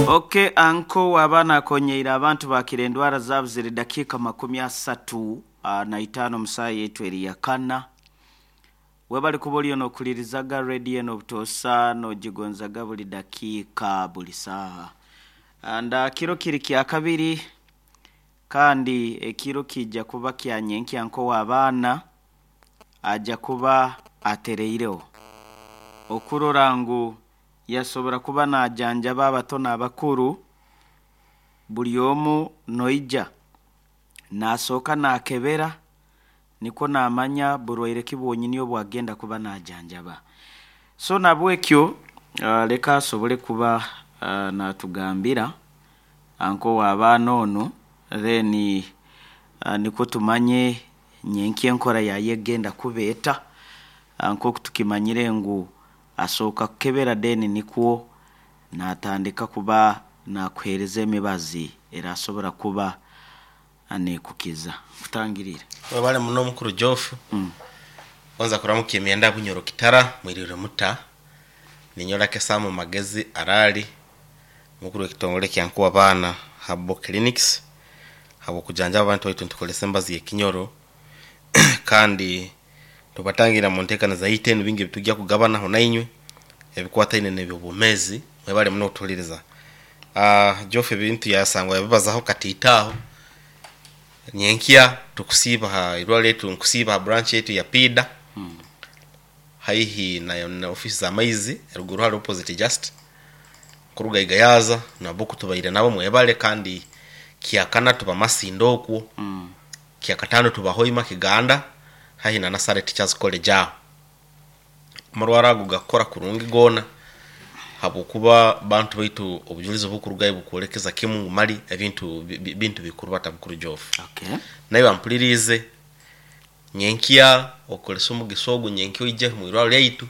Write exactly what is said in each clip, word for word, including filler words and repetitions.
Okay, anko wabana akonyeire abantu bakira endwara zaabo ziri dakiika makumi asatu uh, na itaano musaaya yetu eri yakana. Webali kuba oliyo n'okulirizaga rediyo eno obutosa n'ogigonzaga buli dakiika buli saaha. Anda kiro kiri kya kabiri kandi ekiro kijja kuba kya nyenkya nko w'abaana ajja kuba atereireho okurora ngu yasobora kuba najanjaba abato n'abakuru buli omu noija nasooka nakebera nikwo namanya burwaire ki bwonyini obwagenda kuba najanjaba. So nabwekyo uh, leka asobole kuba uh, natugambira anko w'abaana onu then uh, nikwo tumanye nyenkya enkora yaye egenda kuba eta nk'oku tukimanyire ngu asooka kukebera then nikwo natandika kuba nakuheereza emibazi erasobora kuba neekukiza. Kutangirira. Webale muno mukuru Jofu. Mm. Kwanza kuramuka emyenda Bunyoro Kitara mwirire muta ninyola kesamu magezi arali mukuru w'ekitongole kya Nkuwa Baana Herbal Clinics habo kujanjaba abantu baitu ntukolesa embazi y'ekinyoro kandi tubatangira mu nteekaniza zaitu enu bingi ebitujja kugabanaho nainywe ebikwataine n'ebyobwomeezi. Mwebale muno okutuhuliriza. Uh, Jofu ebintu yasangwa yabibazaho katiitaaho nyenkya tukusiiba ha irwaro letu nkusiiba ha branch yetu ya Pida Mm. haihi na, na ofisi za maizi eruguru hali opposite just kuruga igayaza nabo kutubaire nabo mwebale kandi kiakana tuba Masindo okwo Mm. kiakatano tuba Hoima Kiganda haihi na Nasare Teachers College aho amarwaro ago gakora kurungi gona habwokuba bantu baitu obujulizi obukurugayo bukwolekeza kimu ngu mali ebintu bi- bi- bintu bikuru bata bukuru Jofu. Okay. Naye bampulirize nyenkya okolesa omugisa ogu nyenkya oije mwirwaro lyaitu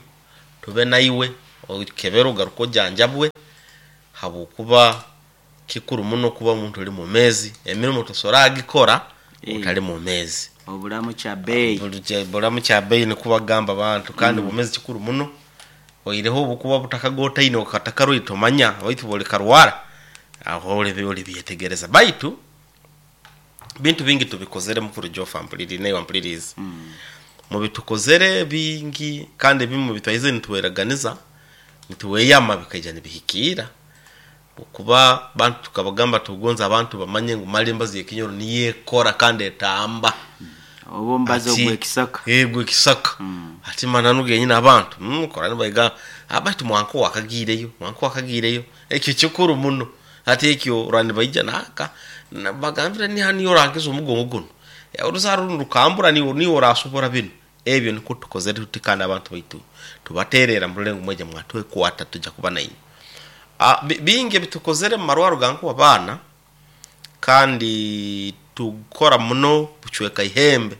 tube naiwe okebere ogaruke ojanjabwe habwokuba kikuru muno kuba omuntu oli mwomeezi emirimo tosobora agikora Eh. otali mwomeezi. Obulamu kya bei. Buli- bulamu kya bei nikuba gamba abantu kandi obwomeezi kikuru muno oireho obukuba butakagotaine okatakarwaire tomanya baitu bwolikarwara aho oli olibyetegereza baitu bintu bingi tubikozere mukuru Jofa mpuliri naye wampulirize Mm. mubitukozere bingi kandi ebimu bitwaize nituweraganiza nituweyama bikaija nibihikiira okuba bantu tukabagamba tugonza abantu bamanye ngu mali embazi y'ekinyoro niyo ekora kandi etamba Oba omubazi Ati- ogw'ekisaka. Eh, gw'ekisaka. Mm. Ati mananu genyini abantu mm, kora nibaiga abaitu mwanko wakagiireyo mwanko wakagiireyo ekyo kikuru muno ati ekyo rani baija naka na- bagambira ni hani orangiza omugongo guno Eh, oruzaro runo rukambura niwo niwo orasobora bino ebyo niko tukozere tuti kandi abantu baitu tubaterera murulengo mweja mwatwekwata tujja kuba nainywe. Ah, bi- bingi ebitukozere mu marwaro ga Nkuwa Baana kandi tukora muno bucweka ihembe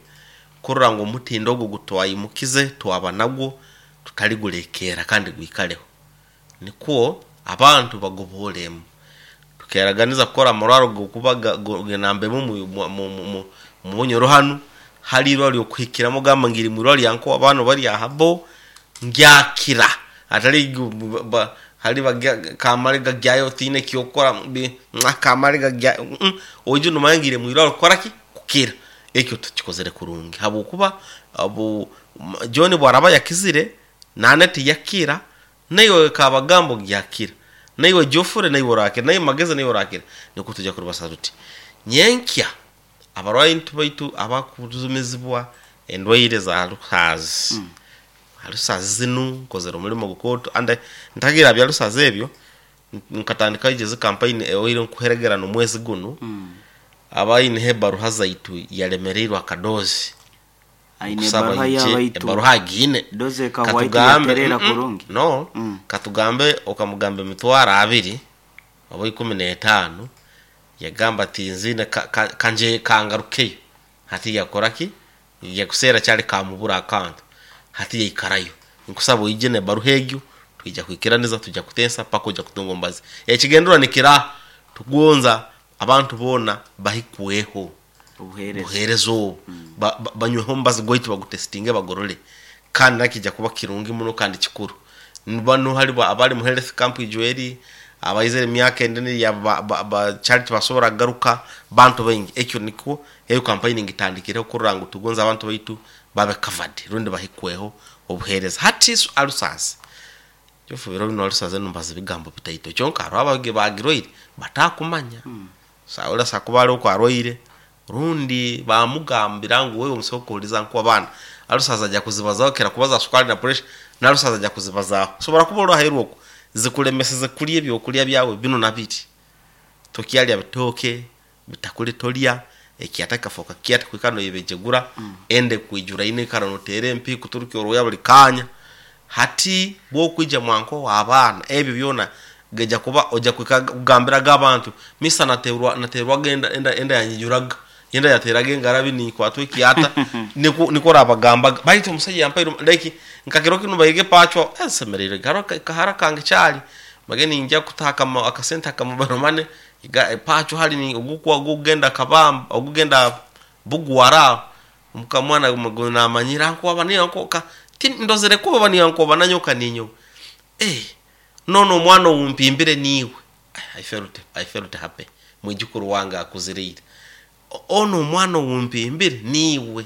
kurora ngu omutindo ogu gutwayimukize twaba nagwo tutaligulekeera kandi gwikaleho nikwo abantu bagoboolemu tukeraganiza kukora amarwaro gokuba genambemu mu- mu- mu- mu- mu Bunyoro hanu hali irwaro lyokuhikiramu gamba ngiri mwirwaro lya Nkuwa Baana oba lya Habo ngyakira atali gu- ba- hali bagya- kamale gagyayo tiine kyokora bi- mwa, kamale gagyayo mm, oije nomanya ngire mwirwaro kukora ki kukira ekyo tukikozere kurungi habwokuba abu m- John bwaraba yakizire nane tiyakira naiwe kabagambo gyakira naiwe Jofure naiwe orakira naiwe Magezi naiwe orakira nikwo tujja kurubasa tuti nyenkya abarwayi baitu abakuzumizibwa endwaire za ruhazi mm. Alusazi zinu nkozere omulimo gukoto ande ntagira bya lusazi ebyo nkatandika ije campaign eoire nkuheregera nomwezi guno Mm. abaine ebaruha zaitu yalemereirwe akadozi Aine Nkusaba ebaruha ije y'abaitu. ebaruha agiine Doze ekahwaitu Katugambe- yaterera mm, mm, kurungi. no Mm. katugambe okamugamba emitwaro abiri oba ikumi n'etaano yagamba ati nzine ka- ka- kanje kangarukeyo hati yakoraki yakuseera kyali kamubura akantu hati yaikarayo nkusaba oije nebaruha egyo twija kwikiraniza tujja kutensa paka ojja kutunga ombazi ekigendera nikira tugonza abantu boona bahikweho Obuheereza. buheereza obu Ba- ba- banyweho omubazi gwaitu bagutesitinge bagorore kandi nakija kuba kirungi muno kandi kikuru bano hali abali mu health camp ijweri Abaizere emyaka endene ya ba, ba, ba charity basobora garuka bantu baingi. Ekyo nikwo eyo campaign ngitandikire kurora ngu tugonza abantu baitu babe covered rundi bahikweho obuhereza. Hati alusasi jofu biro bino alusaze numbaza bigambo bitaito kyonka hariho abage bagiroire batakumanya. mm. Saula sakubale uko arwaire rundi bamugambira ngu wewe omusoko uliza nko abana alusaza ajya kuzibazaho kera kubaza sukari na pressure na alusaza ajya kuzibazaho sobora kuba orohairwe uko zikulemeseze kulya ebyokulya byawe bino nabiri tokyalya bitoke bitakuli tolya ekyataka foka kyata kwikano yebejegura. mm. Ende kwijura ine kara notere empi kuturuki oroya buli kanya. Hati bwo kwija mwanko w'abaana ebyo byona geja kuba oja kugambiraga abantu misa naterwa naterwa genda enda enda yanyijuraga yenda yateraga engarabi ni kwatwe kiata niko niko rabagamba baitu omusajja yampaire like nkakiro kino bayige pachwa ensemerere garo kahara kange chali mageni nja kutaka akasenta kamobile money pacho hali ni ogukwa ogugenda kabamba ogugenda bugwara mukamwana mugona manyira nko abani nko ka ndozere kuba bani nko bananyoka ninyo eh nono omwana umpimbire niwe. I felt I felt happy mwijukuru wange akuzirire ono omwana umpimbire niwe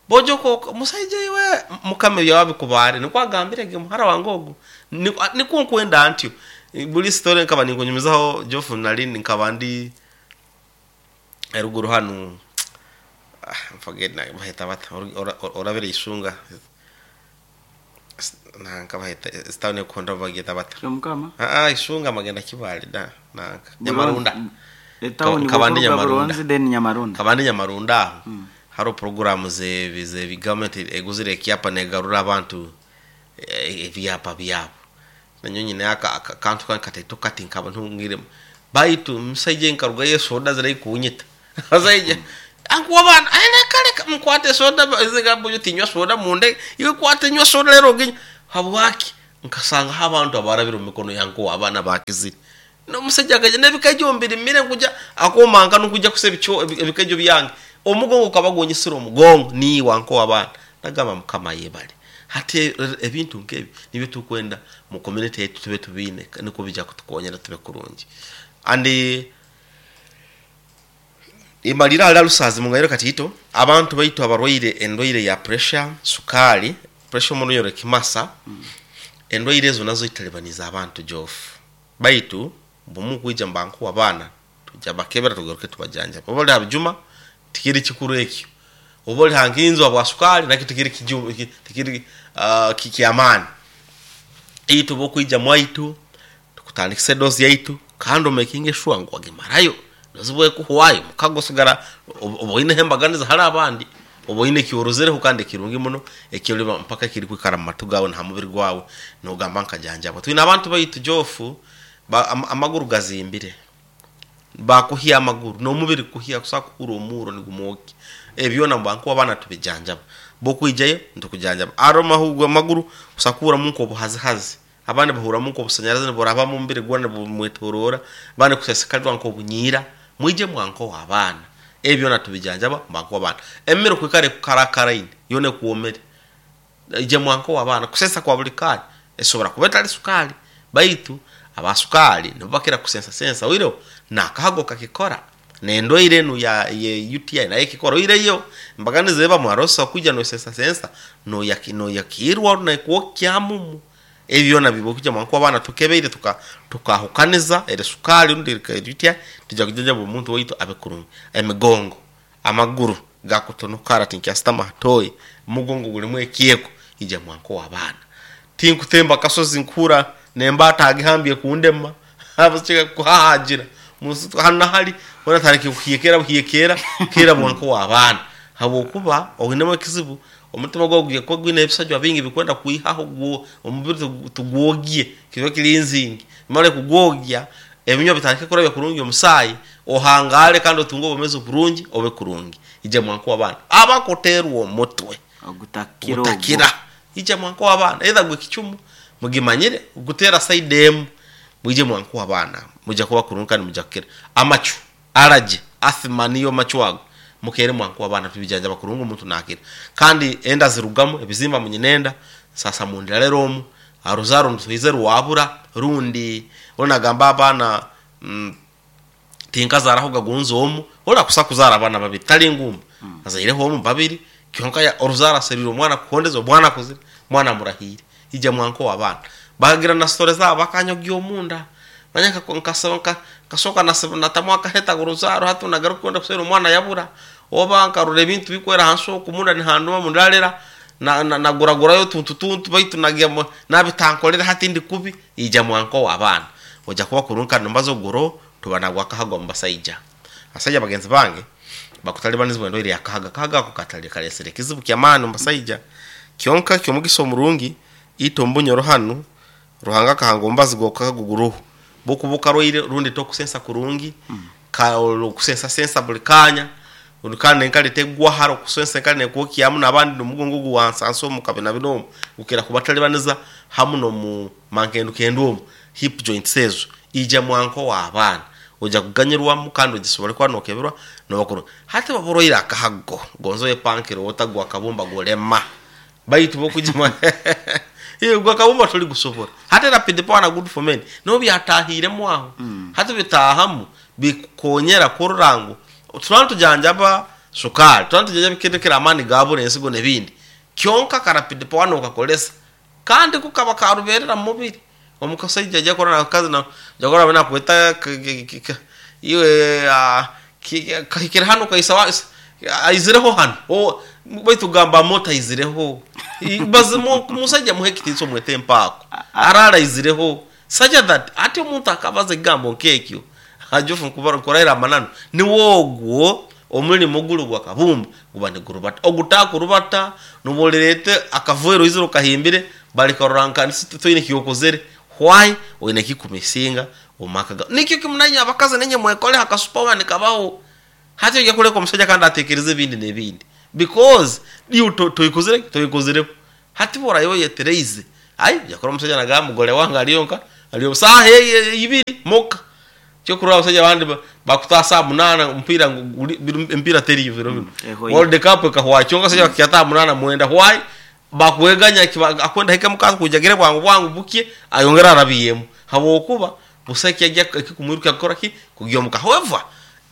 bojoko musaije iwe mukame byawe bikubare nikwagambire ge muhara wange ogu niko nkwenda antyo buli story nkaba ninkunyumizaho Jofu nali nkaba ndi eruguru hanu forget na bahita bata orabere isunga nanka bahita stone konda bagita bata mukama ah ah isunga magenda kibali da nanka Nyamarunda etawuni kabandi Nyamarunda then Nyamarunda kabandi Nyamarunda. mm. Haro programu ze ze government eguzire ekyapa negarura abantu ebyapa byabo nanyonyi naka kantu kan kataito kati nkaba ntungire baitu musaije nkaruga yesoda zira kunyita azaije ankuwa bana ene kale mkwate soda zigambo tinywa soda munde iwe kwate nywa soda lero ginya habwaki nkasanga abantu abarabira mikono yanko abana bakizire no musajja gaje nebikajo mbiri mire kuja akomanga nukuja kusebicho ebikajo byange omugongo kabagonyesira omugongo ni wanko abana nagamba mukama yebale. Hati ebintu nkebi nibyo tukwenda mu community yetu tube tubine niko bija kutukonyera tube kurungi andi imalira ala lusazi mungayiro katito abantu baitu abarwaire endwaire ya pressure sukali pressure muno yore kimasa. mm. Endwaire ezo nazo italibaniza abantu jofu baitu bumu kuija mbanku abana tuja bakebera tugaruke tubajanja obali abjuma tikiri kikuru ekyo obali hanginzo abwa sukali nakyo tikiri kiju tikiri uh, kikiamani itu bokuija mwaitu tukutandikise dozi yaitu kando making sure ngo agemarayo nozibwe kuhwayo mukagosigara oboine hembaganiza hari abandi oboine kiorozere kandi kirungi muno ekyo mpaka kiri kwikara mu gawe nta mubiri gwawe nogamba nkajanja abo twina abantu baitu jofu ba, am, amaguru gazimbire bakuhiya amaguru no mubiri kuhiya kusakura omuro nigumoki ebyona mbanku abana tubijanjaba bokwijayo ntukujanjaba aroma hugwa amaguru kusakura munko obuhazihazi abandi bahura munko obusanyarazi boraba mu mubiri gwana bumwetorora bandi kusesekalwa nko bunyira mwije mwanko wabana ebyona tubijanjaba mbanku abana emiro kwikare kukarakara yone kuomere ije mwanko wabana kusesa kwa buli kali esobora kubeta ali sukali baitu abasukali nibakira kusensa sensa wiro nakahago kakikora nendo irenu ya ye U T I naye kikora ireyo mbaganize ba mwarosa kuja no sensa sensa no yakino yakirwa na kuokyamumu ebyona bibokuja mwanko abana tukebeire tuka tukahukaniza ere sukali ndi U T I tuja kujaja omuntu waitu abekurungi emigongo amaguru gakutonokara tinkyastama hatoi mugongo gulimu ekiyeko ija mwanko wabana tinkutemba kasozi nkura nemba atagihambye kundema abachika kuhajira musu hana hali wana tariki kuhiyekera kuhiyekera kera mwanko wabana habokuba oginema kizibu omutima gwa guye ko gwine ebisajwa bingi bikwenda kuihaho gwo omubiri tugwogie kiba kilinzingi male kugwogia ebinywa bitarike kurabya kurungi omusayi ohangale kandi otungo obumezo burungi obe kurungi ije mwanko wabana abakoterwa omutwe ogutakira ogutakira ije mwanko wabana either gwe kichumu mugimanyire gutera side m muje mwanko wabana muja kuba kurungi kandi muja kukira amachu araje asthma niyo machu ago mukere mwanko wabana tubijanja bakurungu omuntu nakira kandi enda zirugamo ebizimba munyinenda sasa mundira lero omu Aruzaro ntuize rwabura rundi onagamba abana mm, tinkazaraho gagunze omu ora kusa kuzara abana babiri tali ngumu mm. azaireho omu babiri kyonka ya oruzara seriro omwana kuhondeza omwana kuzira mwana murahire ija mwanko wabana bagira na story zabo bakanyogya omunda manya nkasaba nkasoka natamwa akaheta uruzaro hatu nagaruka kwenda kusera omwana yabura oba nkarura ebintu bikwera hansi okumunda nihanduma mundarera na naguragurayo tuntu tuntu baitu nagia nabitankolera hati ndi kubi ija mwanko wabana oja kuba kurunka nombazo goro tubanagwa kahaga mubasaija asaija bagenzi bange bakutalibanizibwa endo iri akahaga kahaga ako katali kalesere kizibu kya maani mubasaija kyonka kyomugisa omurungi ito mbunyoro hanu Ruhanga kahanga ombazi gwokaguguruhu bukubuka roire rundi tokusensa kurungi mm. ka okusensa sensa buli kanya urukana enkali tegwa haro kusensa enkali nekwokiamu nabandi nomugongo guwansanso mukabina binomu ukira kubatalibaniza hamu no mu mankendu kendu hip joints ezo ija mwanko wa abana oja kuganyirwamu kandi ogisobole kuba nokeberwa nobakuru hati baboroire akahago gonzo yepankiro otagwa akabumba golema baitu bokujima iyo gwa kabumba tuli gusobora hati rapid power na good for men no byatahiremu aho mm. hati bitahamu bikonyera kururango turantu tujanjaba sukari turantu tujanjaba bikendekera amani gabure ensigo nebindi kyonka ka rapid power no kakolesa kandi kukaba karuberera mubiri omukasaija ajja kora nakazi na jagora bana kweta iwe kahikira hano kaisa aizireho hano o baitu gamba mota izireho bazimo musajja muhekitiso mwete mpako arara izireho such that ati omuntu akabaza egambo nkekyo ajofu nkubara kuraira amanano ni wogwo omulimo gulu gwa kabumba guba nigurubata ogutakurubata nubolerete akavwero iziro kahimbire balikaroranka toine kiyokozere why oine kikumisinga omakaga nikyo kimunanya abakazi nenye mwekole hakasupawa nikabaho hati ojya kuleka omusajja kandi atekereze ebindi n'ebindi because you toikozere toikozere hati bora yo yetereize ai yakora omusajja nagamba mugole wange aliyonka aliyo saha ibiri moka cyo kuraba abasajja abandi bakutasa munana mpira mpira teri biro bino World Cup kahwa cyonka sajja bakyata munana mwenda why bakweganya akwenda heka mukazi kujagire bwangu bwangu bukie ayongera arabiyemo habokuba busaki yajya kikumwiruka akora ki kugyomuka however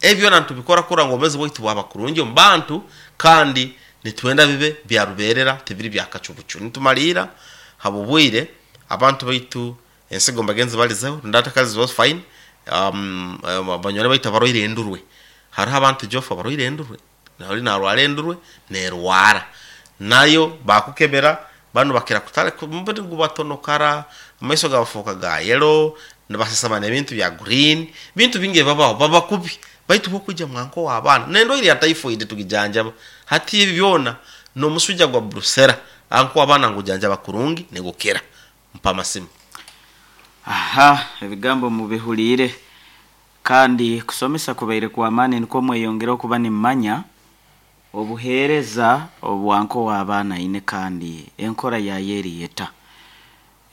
ebyo nantu bikora kura ngo meze bwaitu bwaba kurungi mbantu kandi nitwenda bibe byaruberera tibiri byakacubucu nitumalira habubwire abantu baitu ensigo mbagenzi balizeho ndatakazi was fine um banyore baita baroire endurwe hariho abantu jofa baroire endurwe nari narwara endurwe nerwara nayo bakukebera bano bakira kutale mbiri gubatonokara amaiso gabafuka ga yellow nabasasama ebintu bya green bintu binge babaho baba kubi baitu bokujja mwanko wa abana nendo iri ya typhoid tugijanjaba hati ebi byona no musuja gwa brusera anko abana ngujanjaba kurungi negukera mpa masimu aha ebigambo mubihulire kandi kusomesa kubaire kwa amani niko mweyongera okuba nimanya obuhereza obwanko w'abaana ine kandi enkora ya yeriyeta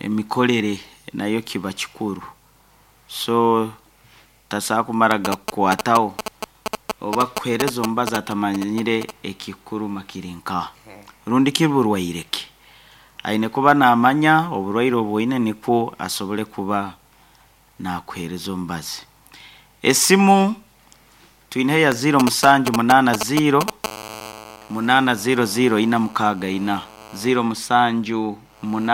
emikolere nayo kiba kikuru so tasaa kumara gakukwataho oba kuhereza omubazi atamanyire ekikuruma kiri nka rundi kiburwaireke aine kuba namanya oburwaire obwoine nikwo asobole kuba nakuhereza omubazi. Esimu twine ya zero musanju munana zero munana zero zero ina mukaga ina zero musanju munana